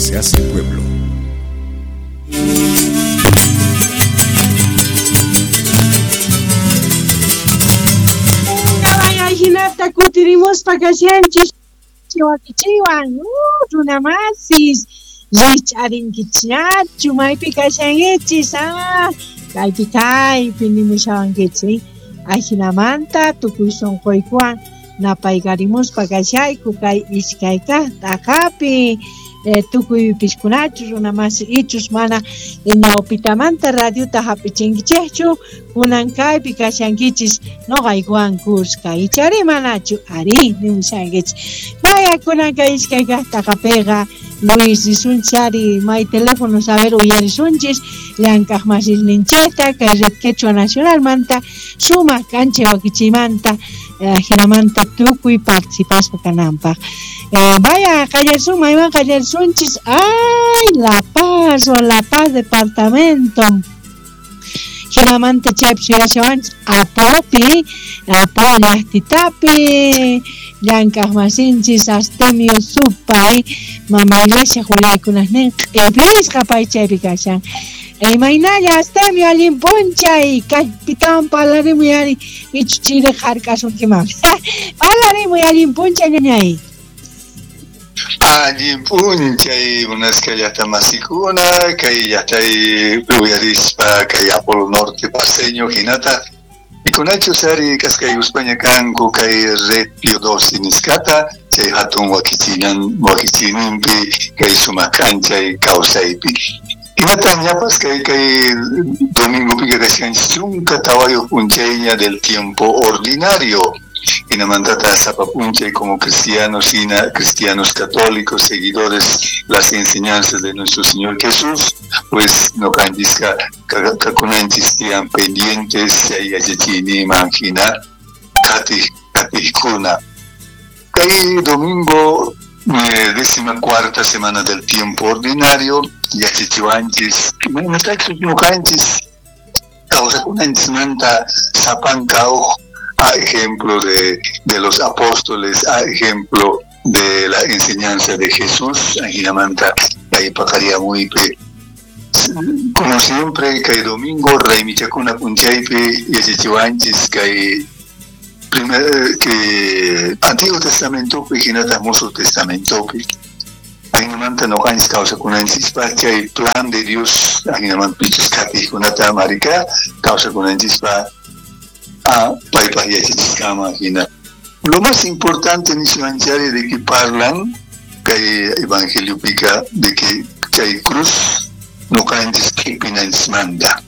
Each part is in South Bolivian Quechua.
se hace pueblo. Hinata kutirimuspa kashanchis wakichiwan runamasis rich'arinkichñachu maypi kashankichis kaypi kaypi nimushawankichis ajinamanta tukuy sunquykuwan napaykarimuspa kashayku kay iskay kaq t'aqapi tukuy piskunachu runamasi ichus mana ñawpitamanta radiota hap'ichinkichikchu kunan kaypi kashankichis noqaykuwan kuska ichari manachu ari nimushankichis vaya kunan kay iskay kaq t'aqapiqa Luis risunchari may teléfono saber uyarisunchis llank'aq masisninchikta kay Red Quechua Nacionalmanta sumaq k'anchay wakichiymanta jinamanta tukuy participaspa kananpaq. Vaya qallarisun maywan qallarisunchis ay La Paz o La Paz departamento jinamanta chaypi suyashawanchis Apopi Apo llaqtitapi llank'aq masinchis Astemio Supay mama iglesia willaykunasnin q'ipisqa pay chaypi kashan. Imaynalla Astemio allin p'unchay kaypitawan parlarimuy ari ichu chiri hark'asunkiman parlarimuy allin p'unchay ñañay. Allin p'unchay munasqa llaqta masikuna kay llaqtay uyarispa kay Apolo Norte paseño hinata pikunachus ari kasqaykuspaña kanku kay Red Pío XII nisqata chay hatun wakichiyninpi kay sumaq k'anchay kawsaypi. Hinata ñapas kay domingopiqa kashkanchis 14 p'unchayña del tiempo ordinario. Hinamantata sapa p'unchay como cristianos hina cristianos católicos seguidores las enseñanzas de nuestro Señor Jesús pues noqanchisqa kakunanchis tiyan pendientes chay yachachiyninman hina qatiqkuna. Kay domingo 14ª semana del tiempo ordinario yachachiwanchis imaynatachus ñuqanchis kawsakunanchismanta sapanka uj a ejemplo de los apóstoles, a ejemplo de la enseñanza de Jesús, ajinamanta kay paqarimuypi como siempre kay domingo raymichakuna p'unchaypi yachachiwanchis kay primer que Antiguo Testamentopi hinataq Musuq Testamentopi ajinamanta noqanchis kawsakunanchispa chay plan de Dios ajinamanta pichus qatiqkunata marika kawsakunanchispa a paypaq yachachisqanman hina. Lo más importante niswanchari de que parlan kay evangeliopika de que chay cruz noqanchis q'ipinanchismanta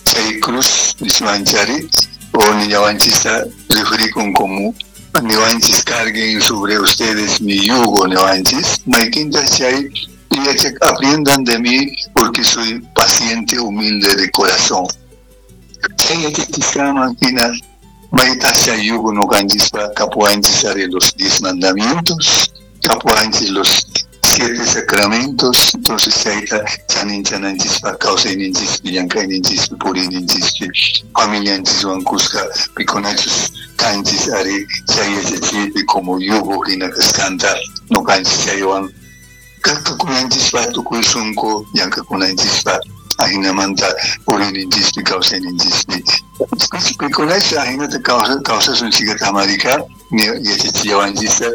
chay cruz niswanchari o niñawanchista referikun como niwanchis carguen sobre ustedes mi yugo niwanchis maykinta chay aprendan de mí porque soy paciente humilde de corazón. Chay yachachisqanman hina maytasha yugo noqanchispa kapuwanchis ari los 10 mandamientos kapuwanchis los 7 sacramentos entonces chayta chaninchananchispaq kawsayninchispi llank'ayninchispi puriyninchispi familianchiswan kuska pikunachus kanchis ari chay yachachiypi como yugo hina kasqanta noqanchis chaywan kakakunanchispa tukuy sunqu llank'akunanchispa ajinamanta puriyninchispi kawsayninchispi pikunachus ajinata kawsasun chikata marika yachachillawanchista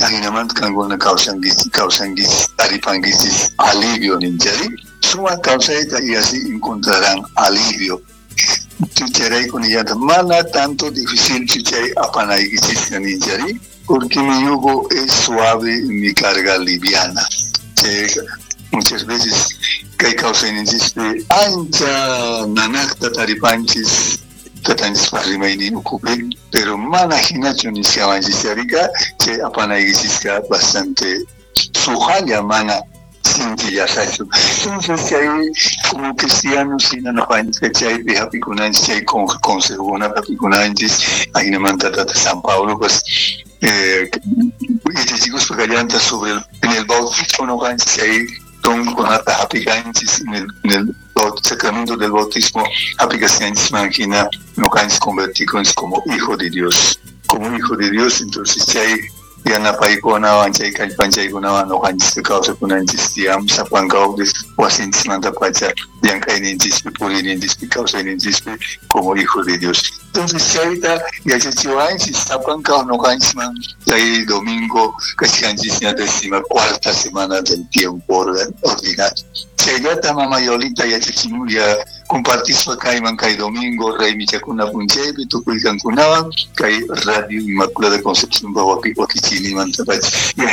ajinamanta kankuna kawsankichis taripankichis alivio ninchari sumaq kawsayta y así encontrarán alivio. Chayrayku nillanta mana tanto difícil chay apanaykichis ninchari porque mi yugo es suave y mi carga liviana. Muchas veces kay kawsayninchispi ancha nanaqta taripanchis tatanchispa rimaynin ukhupi pero mana hinachu nisqawanchis charika chay apanaykichisqa bastante sujalla mana sinchillasachu. Entonces chay como cristianos hina noqanchis chaypi hapikunanchis chay consejokunata hapikunanchis ajinamanta tata San Pablo pues yachachikuspa kallanta sobre en el bautismo noqanchis chay donkunata hapikanchis en el sacramento del bautismo hapikanchis hina noqanchis convertikunchis como hijo de Dios entonces chay Yanapaykunawan chay kallpanchaykunawan noqanchis kawsakunanchis tiyan sapankawpis wasinchikmantapacha llank'ayninchispi puriyninchispi kawsayninchispi como hijo de Dios. Entonces chayta yachachiwanchis sapankaw noqanchisman chay domingo kachkanchisña décima cuarta semana del tiempo ordinario. Chayllata mama Yolita yachachimulla compartispa kayman kay domingo raymichakuna p'unchaypi tukuy kankunawan kay Radio Inmaculada Concepción wakichiyninmantapacha y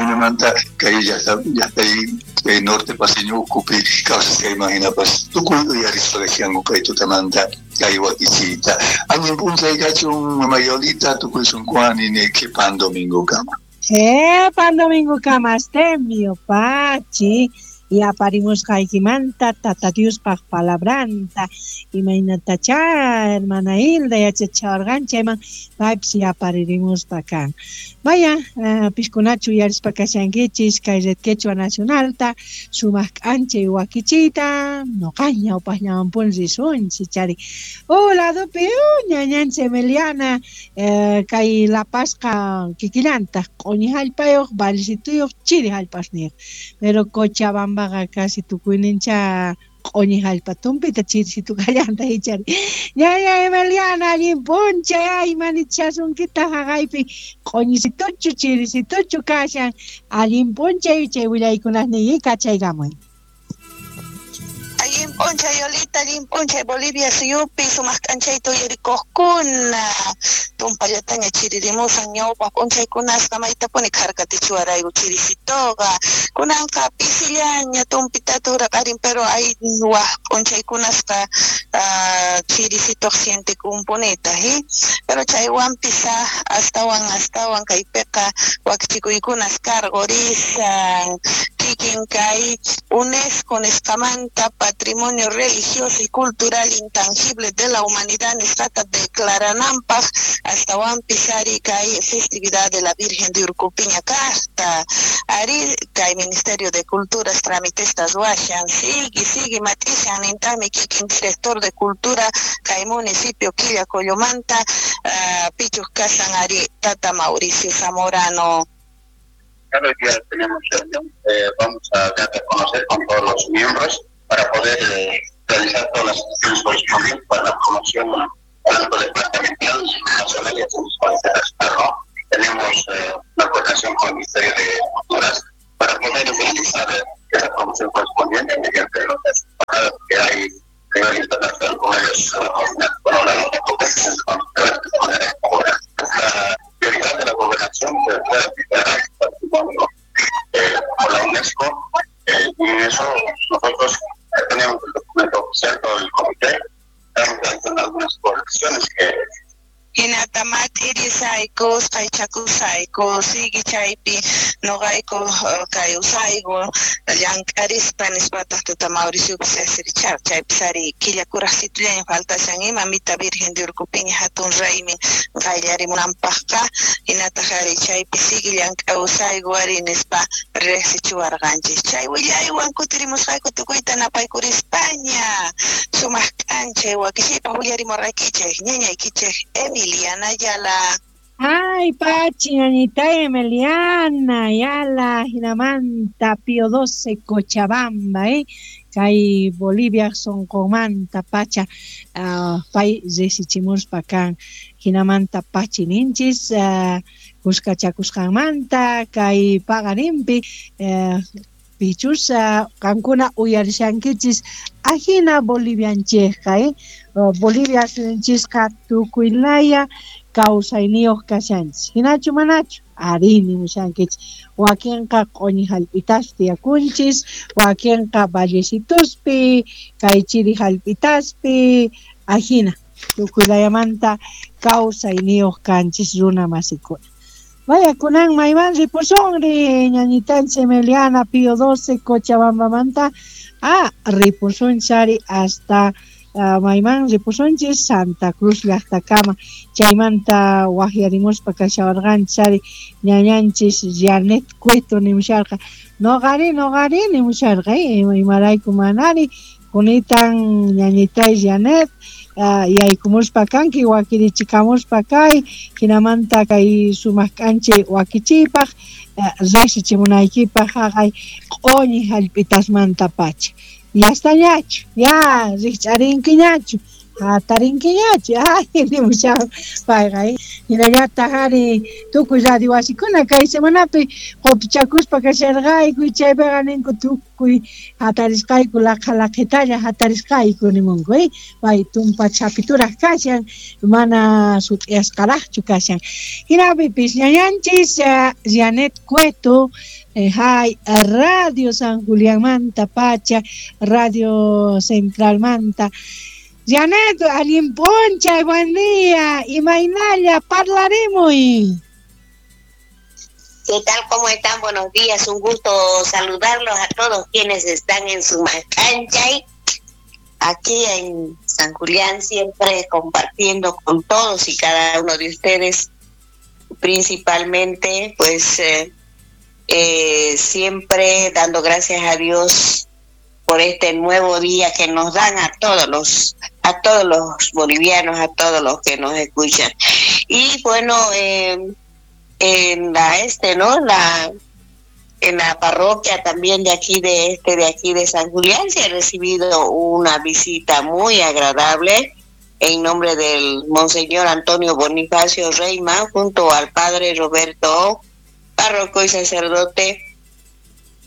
kay llaqtay kay norte paseño ukhupi kawsasqayman hinapas tukuy uyarispa kachkanku kay tutamanta kay wakichiyta. Allin p'unchay kachun mama Yolita tukuy sunquwan nini qhipan domingo kama. Qhipan domingo kama Astemio pachi y aparimusqaykimanta Tata Diospaq palabranta imaynatacha hermana Hilda yachachiwarqan chayman paypis yaparirimuspa kan. Vaya, piskunachu uyarispa kashankichis kay Red Quechua Nacionalta sumaq k'anchay wakichiyta noqaña ñawpaqllamanpuni risunchis chari. Ladopi ñañanchis Emiliana kay Lapasqa kikillantaq q'uñi hallpayuq vallecituyuq chiri hallpasniyuq pero Cochabamba casi tukuynincha q'uñi hallpa tumpita chirisitu kallanta ichari. Ñaña Emiliana allin p'unchay ay manichasunkita haqaypi q'uñisituchu chirisituchu kashan allin p'unchay chay willaykunasniyki kachaykamuy. Allin p'unchay Yolita, allin p'unchay Bolivia suyupi sumaq k'anchayta uyarikuqkuna tumpallataña chiririmusan ñawpaq p'unchaykunasqa maytapuni kharkatichiwarayku chirisituqa kunanqa pisillaña tumpitata uraqarin pero hay waq p'unchaykunasqa chirisituq sientekunpunita pero chaywanpis astawan kaypiqa wakichikuykunas karqurisan kikin kay UNESCO nisqamanta Patrimonio Religioso y Cultural Intangible de la Humanidad nisqata declarananpaq astawanpis ari kay festividad de la Virgen de Urcupiña kaqta ari kay Ministerio de Culturas tramitestas ruwashan sigue matishan nintaqmi kikin director de Cultura kay municipio Quillacollomanta pichuq kasan ari Tata Mauricio Zamorano. Claro, ya tenemos reunión, vamos a dar a conocer con todos los miembros para poder realizar todas las acciones correspondientes para la promoción tanto departamental, nacional y ¿no? Tenemos una coordinación con el Ministerio de Culturas para poder realizar esa promoción correspondiente mediante los pagadas que hay a nivel internacional con ellos, con la prioridad de la gobernación que pueda declarar el patrimonio por la UNESCO, y en eso nosotros tenemos el documento oficial, todo el comité, estamos realizando algunas correcciones que Hinata mat'irisayku usqhaychakusayku sigue chaypi noqayku kay usayku llank'arispa nispataq tata Mauriciopis asirichar chaypis ari killa kuraqsitullaña faltashan ima mita Virgen de Urcupiña hatun raymin qayllarimunanpaqqa hinataq ari chaypi sigue llank'awsayku ari nispa riqsichiwarqanchis chay willaywan kutirimusqayku tukuyta napaykurispaña sumaq k'anchay wakishaypaq willarimurqaykichik ñañaykichik Emiliana Ayala. Ay, Pachi, ñañita Emiliana Ayala, Hinamanta, Pío XII, Cochabamba, Kay Bolivia sonqomanta pacha, pay risichimuspa kan Hinamanta pachi ninchis, kuskachakusqanmanta, kay paqarinpi, pichus qankuna uyarishankichis ajina bolivianchejqa, Bolivia suyunchisqa tukuylaya kawsayniyuq kashanchis hinachu manachu ari nimushankichis wakinqa q'uñi hallp'itaspi tiyakunchis wakinqa vallecituspi kay chiri hallp'itaspi ajina tukuylayamanta kawsayniyuq kanchis runa masikuna. Vaya, kunan mayman ripusunri ñañitanchis Emiliana Pío XII Cochabambamanta ripusunchari hasta mayman ripusunchis Santa Cruz llaqtakama chaymanta waqyarimuspa kashawarqanchis ñañanchis Janet Cueto nimusharqa noqari nimusharqa imarayku manari kunitan ñañitay Janet Yaykumuspa kanki wakirichikamuspa kay hinamanta kay sumaq k'anchay wakichiypaq riqsichimunaykipaq haqay q'uñi hallp'itasmanta pacha. Yastañachu, ya rikch'arinkiñachu, hatarinkiñachu, ay nimushan payqa. Hinallataq ari tukuy radio wasikuna kay semanapi qutuchakuspa kasharqayku, chaypiqa ninku tukuy hatarisqayku laqha laqhitalla hatarisqayku nimunku, pay tumpa chapituraq kashan, mana sut'iyasqaraqchu kashan. Hinapipis ñañanchis Janet Cueto, hay Radio San Julianmanta pacha, Radio Centralmanta. Janet, allin p'unchay, buen día, imaynalla, parlarimuy. ¿Qué tal? ¿Cómo están? Buenos días, un gusto saludarlos a todos quienes están en Sumaq K'anchay, aquí en San Julián, siempre compartiendo con todos y cada uno de ustedes, principalmente, pues, siempre dando gracias a Dios por este nuevo día que nos dan a todos los bolivianos, a todos los que nos escuchan. Y bueno, en la en la parroquia también de aquí de San Julián se ha recibido una visita muy agradable en nombre del monseñor Antonio Bonifacio Reima, junto al padre Roberto, párroco y sacerdote,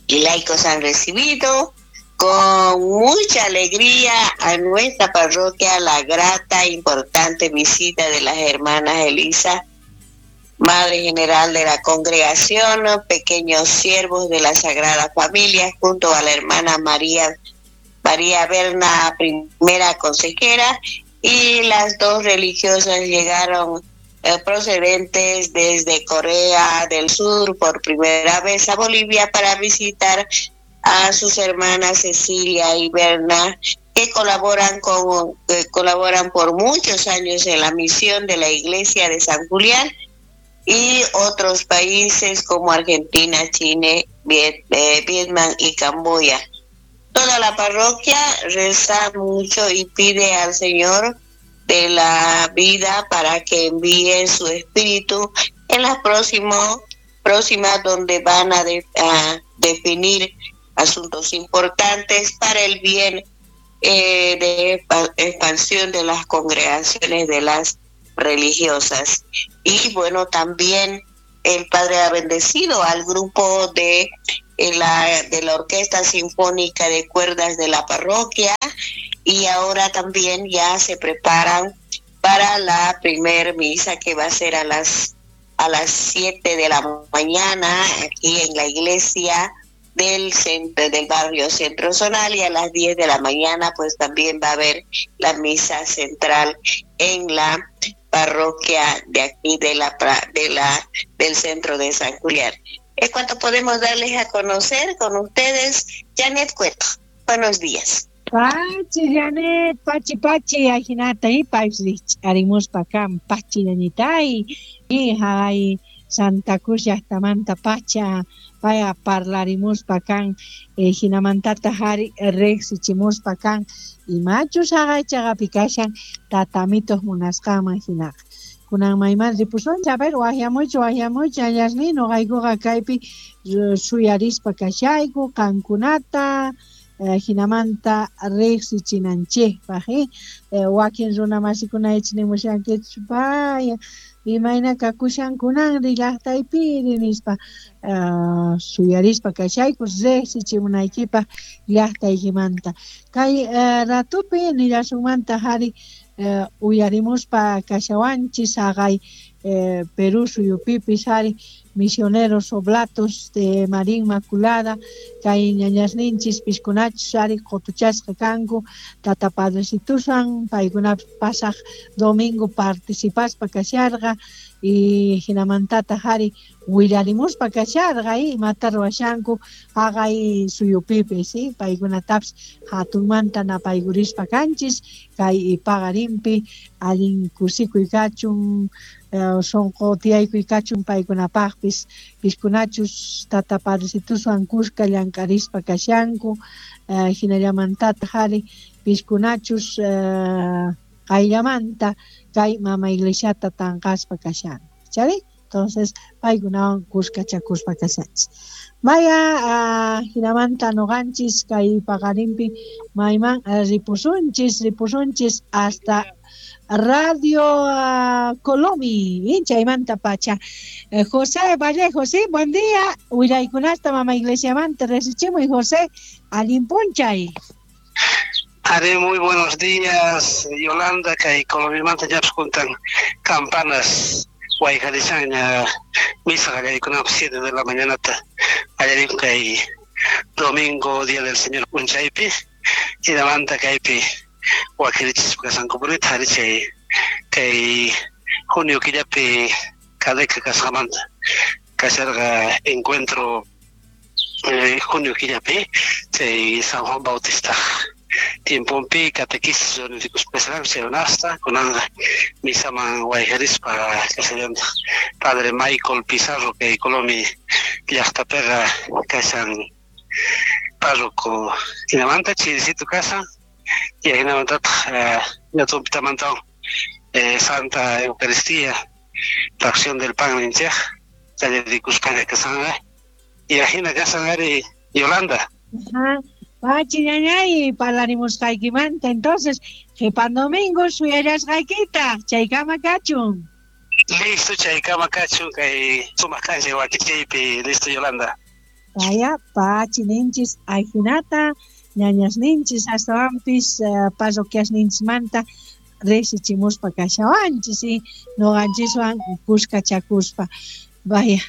y laicos han recibido con mucha alegría a nuestra parroquia la grata e importante visita de las hermanas Elisa, Madre General de la Congregación, Pequeños Siervos de la Sagrada Familia, junto a la hermana María Berna, primera consejera, y las dos religiosas llegaron procedentes desde Corea del Sur por primera vez a Bolivia para visitar a sus hermanas Cecilia y Berna, que colaboran por muchos años en la misión de la Iglesia de San Julián y otros países como Argentina, Chile, Vietnam y Camboya. Toda la parroquia reza mucho y pide al Señor de la vida para que envíe su espíritu en las próximas donde van a definir asuntos importantes para el bien de expansión de las congregaciones de las religiosas. Y bueno, también el padre ha bendecido al grupo de la Orquesta Sinfónica de Cuerdas de la parroquia, y ahora también ya se preparan para la primer misa que va a ser a las 7 de la mañana aquí en la iglesia del centro, del barrio Centro Zonal, y a las 10 de la mañana pues también va a haber la misa central en la parroquia de aquí del centro de San Julián. Es cuanto podemos darles a conocer con ustedes. Janet Cueto, buenos días. Pachi, Janet, pachi, pachi, ajinata y arimuspa kan, pachi, ñañitay, y hay Santa Cruz llajtamanta pacha, paya parlarimuspa kan, hinamantata hari riqsichimuspa kan, imachus haqay kashan tatamitos munasqanman hinaqa. Kunan mayman ripusunchik, a ver, waqyamuychu, allasni, noqaykuqa kaypi suyarispa kashayku qankunata, hinamanta riqsichinanchikpaq, wakin runa masikuna nimushankichik paya imayna kakushankunanri llaqtaypiri nispa, suyarispa kashayku riqsichimunaykipaq llaqtaykimanta. Kay ratupi nillasunmanta hari uyarimuspa kashawanchis haqay Perú suyupipis hari misioneros oblatos de María Inmaculada, kay ñañasninchis piskunachus ari qutuchasqa kanku tata padrecitusan, paykunapis pasaq domingo participaspa kasharqa y hinamantata hari willarimuspa kasharqa imata ruwashanku haqay suyupipis, paykunatapis hatunmanta napaykurispa kanchis kay paqarinpi allin kusikuy kachun, sonqo tiyaykuy kachun paykunapaqpis, piskunachus tata padrecituswan kuska llank'arispa kashanku, hinallamantata hari piskunachus Qayllamanta kay mama iglesiata tanqaspa kashanku, chari? Entonces paykunawan kuskachakuspa kashanchis. Maya jinamanta noqanchis kay paqarinpi mayman ripusunchis hasta Radio Colomi, chaymanta pacha. José Vallejo, sí, buen día. Willaykunasta mama iglesiamanta resichimuy, José, allin p'unchay. Are, muy buenos días, Yolanda, kay Colomimanta ñapis juntan campanas wayqarishanña misa qallariykunapaq 7 de la mañanata qallarikun kay domingo Día del Señor p'unchaypi, hinamanta kaypi wakirichispa kashankupunita ari chay kay junio killapi Cadeca kasqamanta kasharqa encuentro junio killapi chay San Juan Bautista tiemponpi catequesis reunikuspa kasharqanku chay runasta kunanqa misaman wayqarispa kashallantaj Padre Michael Pizarro kay Colomi llaqtapiqa kashan párroco hinamanta chirisito kashan y hinamantataq ñatumpitamanta Santa Eucaristía fracción del pan ninchej qallarikuspaña kashanqa y ajina kashan ari Yolanda. Pachi ñañay parlarimusqaykimanta entonces qhipan domingo suyallasqaykita chaykama kachun. Listo chaykama kachun kay sumaq k'anchay wakichiypi listo Yolanda. Vaya pachi ninchis ajinata ñañas ninchis astawanpis parroquias ninchismanta risichimuspa kashawanchis y noqanchiswan kuskachakuspa. Vaya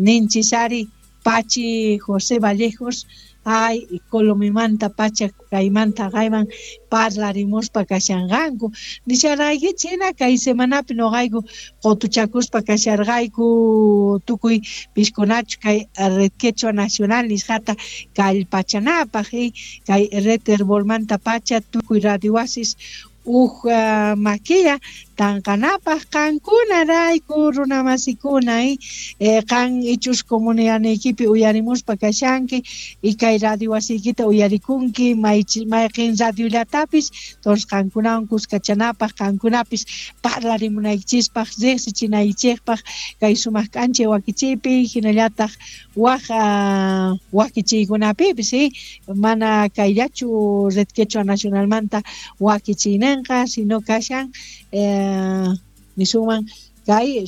ninchis ari pachi José Vallejos ay Colomimanta pacha kaymanta kayman parlarimuspa kashanqanku nisharqaykichis hina kay semanapi noqayku qutuchakuspa kasharqayku tukuy piskunachu kay Red Quechua Nacional nisqata kallpachanapaq kay Red Herbolmanta pacha tukuy radio wasis uj makilla tanqanapaq qankunarayku runamasikuna qan ichus comunidadniykipi uyarimuspa kashanki y kay radio wasiykita uyarikunki mayqin radiollatapis entonces qankunawan kuskachanapaq qankunapis parlarimunaykichispaq riqsichinaykichikpaq kay sumaq k'anchay wakichiypi hinallataq waj wakichiykunapipis mana kayllachu Red Quechua Nacionalmanta wakichiynenqa sino kashan nisunman kay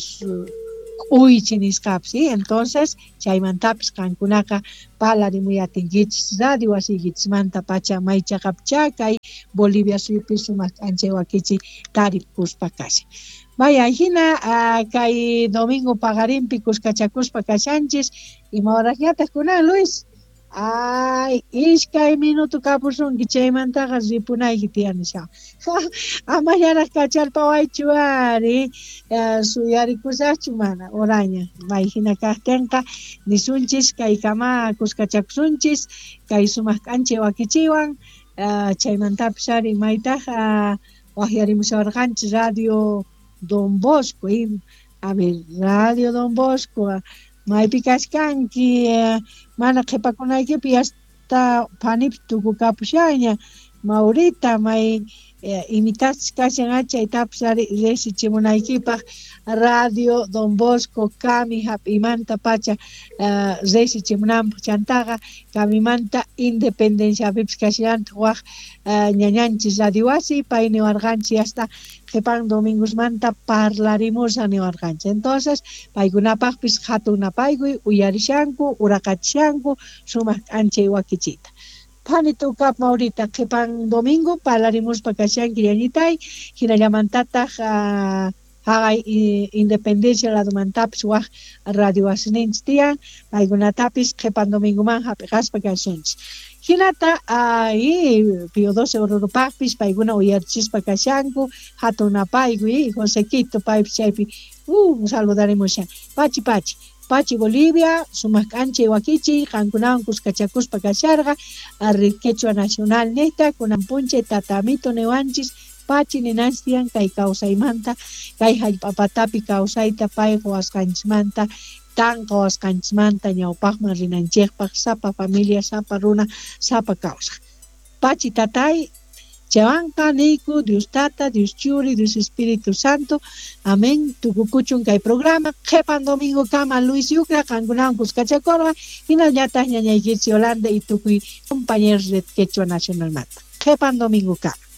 k'uychi nisqapis entonces chaymantapis qankunaqa parlarimuyatinkichis radio wasiykichismanta pacha maychaqapcha kay Bolivia suyupi sumaq k'anchay wakichi tarikuspa kashan. Vaya hina kay domingo paqarinpi kuskachakuspa kashanchis ima horasñataq kunan Luis? Ay, iskay minuto kapusunki chaymantaqa ripunayki tiyan nisha. Amallaraq kacharpawaychu ari suyarikusaqchu mana oraña may hina kaqtinqa nisunchis kaykama kuskachakusunchis kay sumaq k'anchay wakichiwan chaymantapis ari maytaq waqyarimushawarqanchis Radio Don Bosco a ver Radio Don Bosco maypi kashkanki mana qhipakunaykipi hasta phanipi tukukapushaña Maurita may imitachis kashan chaytapis ari risichimunaykipaq Radio Don Bosco kami hap'imanta pacha risichimunanpaq chantaqa kamimanta Independenciapipis kashallantaq waj ñañanchis radio wasi pay niwarqanchis hasta qhipan domingosmanta parlarimusaq niwarqanchis entonces paykunapaqpis hatun napaykuy uyarishanku uraqachishanku sumaq k'anchay wakichita. Phani tukap Maurita qhipan domingo parlarimuspa kashanki ñañitay hinallamantataq haqay Independencia ladumantapis waj radio wasininchis tiyan paykunatapis qhipan domingoman hap'iqaspa kashanchis. Hinata Pío XII Ororupaqpis paykuna uyarichispa kashanku hatun napaykuy Josequito paypis chaypi saludarimushan pachi pachi Pachi Bolivia sumaq k'anchay wakichiy qankunawan kuskachakuspa kasharqa Red Quechua Nacional niqta kunan p'unchay tatamito niwanchis pachi ninanchis tiyan kay kawsaymanta kay hallp'apatapi kawsayta pay quwasqanchismanta tanqawasqanchismanta ñawpaqman rinanchikpaq sapa familia sapa runa sapa kawsaq pachi tatay Chaywanqa niyku Dios Tata, Dios Churi, Dios Espíritu Santo. Amén. Tukukuchun kay programa. Qhepan domingo kama Luis Yucra, qankunawan kuskachakorqa. Hinallataq ñañaykichis Yolanda y tukuy compañeros de Quechua Nacional Mata. Qhepan domingo kama.